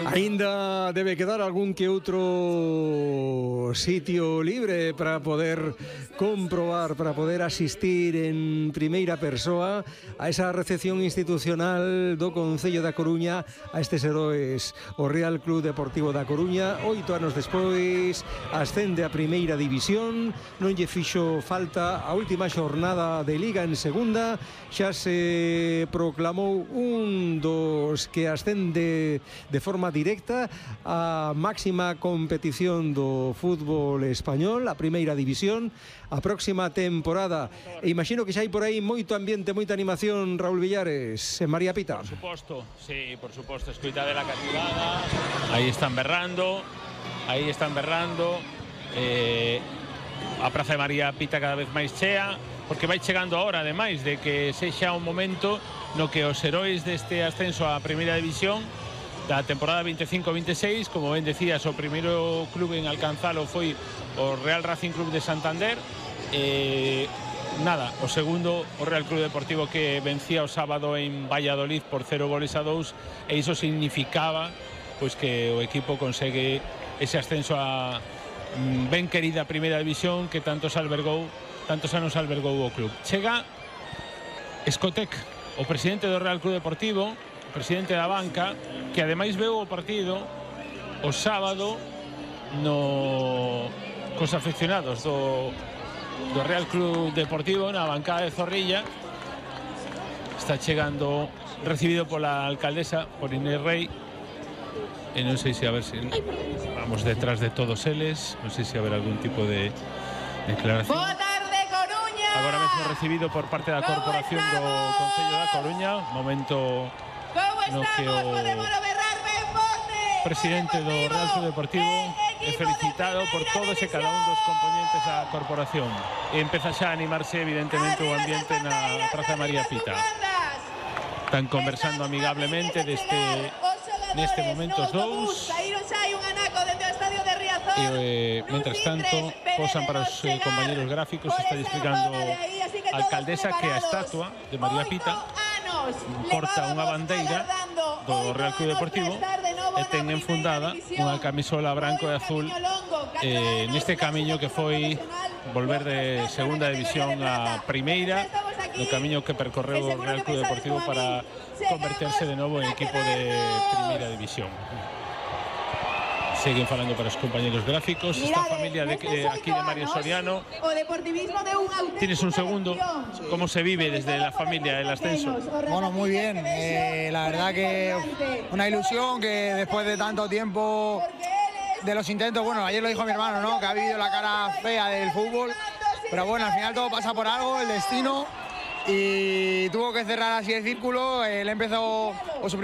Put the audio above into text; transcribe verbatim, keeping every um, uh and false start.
Ainda debe quedar algún que outro sitio libre para poder comprobar, para poder asistir en primeira persoa a esa recepción institucional do Concello da Coruña a estes heróis. O Real Club Deportivo da Coruña, oito anos despois, ascende a primeira división, non lle fixo falta a última xornada de Liga en segunda, xa se proclamou un dos que ascende de forma directa a máxima competición do fútbol español, a primeira división, a próxima temporada. E imagino que xa hai por aí moito ambiente, moita animación, Raúl Villares, en María Pita. Por suposto, sí, por suposto, escoita de la cativada, aí están berrando, aí están berrando, eh, a Praza de María Pita cada vez máis chea, porque vai chegando a hora, ademais, de que sexa un momento no que os heróis deste ascenso á primeira división da temporada veinticinco veintiséis, como ben decías, o primeiro clube en alcanzalo foi o Real Racing Club de Santander, eh, nada, o segundo o Real Club Deportivo, que vencía o sábado en Valladolid por cero goles a dous, e iso significaba pois que o equipo consegue ese ascenso a ben querida primeira división que tantos albergou, tantos anos albergou o club. Chega Escotec, o presidente do Real Club Deportivo, o presidente da banca, que ademais veu o partido o sábado no cos afeccionados do, do Real Club Deportivo na bancada de Zorrilla. Está chegando, recibido pola alcaldesa, por Inés Rey, e non sei se a ver se vamos detrás de todos eles, non sei se haber algún tipo de declaración. Boa tarde, Coruña. Agora mesmo recibido por parte da corporación do Concello da Coruña, momento no que o presidente do Real Club Deportivo é felicitado por todos e cada un dos componentes da corporación. E empeza xa a animarse evidentemente o ambiente na Praza María Pita. Están conversando amigablemente deste neste momento os dous, e eh, mentras tanto posan para os eh, compañeros gráficos. Está explicando a alcaldesa que a estatua de María Pita porta unha bandeira do Real Club Deportivo e ten enfundada unha camisola branco e azul eh, neste camiño que foi volver de segunda división a primeira, no camiño que percorreu o Real Club Deportivo para converterse de novo en equipo de primeira división. Seguen falando para os compañeros gráficos. Esta familia de, eh, aquí de Mario Soriano. Tienes un segundo. ¿Cómo se vive desde la familia el ascenso? Bueno, muy bien. Eh, la verdad que una ilusión que después de tanto tiempo de los intentos, bueno, ayer lo dijo mi hermano, ¿no? Que ha vivido la cara fea del fútbol. Pero bueno, al final todo pasa por algo, el destino. Y tuvo que cerrar así el círculo. Él empezó o su